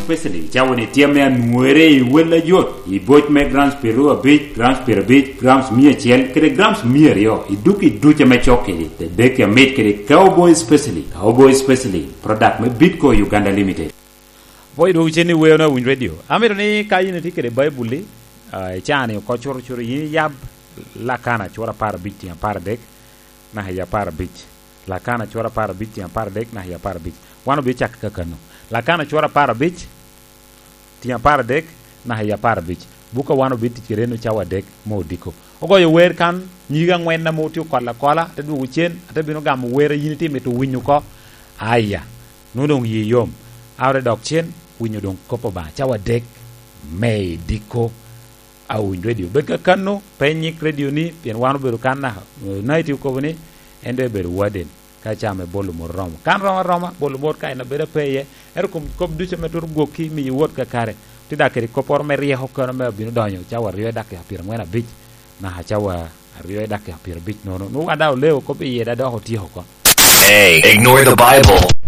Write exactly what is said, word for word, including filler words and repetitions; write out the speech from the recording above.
Specially, cawa ni tye ame anwere i wel ajot, i boc me grams piero abic, grams piero abic, grams mia acel, kede grams mia aryo, i duk i duc ame cok kedi, te dek amit kede Cowboy Specially, Cowboy Specially, product me Bitco Uganda Limited. Apwoyo dwogo cen ni weo na Winy Radio. Amito ni ka yin itye kede Baibul-li, ah, icaa ni oko cuto cuto, yin iyab Lakana cura apar abic tiŋ apar adek, naka i apar abic. Lakana cura apar abic tiŋ apar adek, naka i apar abic. Wan obicako kakano. Lakana cura apar abic, tiŋ apar adek, naka i apar abic. Buk a wan obitic kede en cawa adek me odiko. Ogoyo wer kan, nyige angwen ame otye okolo akola, ate dwogo cen, ate bino gamo wer a yin itye mito winyo oko. Aya, nwoŋo doŋ yi yom. A ore dok cen, winyo doŋ kop Obaŋa cawa adek me i diko a Winy Radio. Bed kakano, pe inyik radio-ni, pien wan obedo kan naka, eh, Night okobo ni, en doŋ ebedo warden, ka ca me bolo mot oromo. Kan romo aroma, bolo mot ka en abedo ape iye. Ento kom kop ducu ame twero gwokki, miyo wot kakare. Tye dak kede kopporo me ryeko kono me abino donyo, cawa aryo i dakika pyerangwen abic, naka cawa aryo i dakika pyerabic nono. Nwoŋo wan daŋ oleo kop iye, daŋ dok otyeko oko. Hey, ignore the Bible.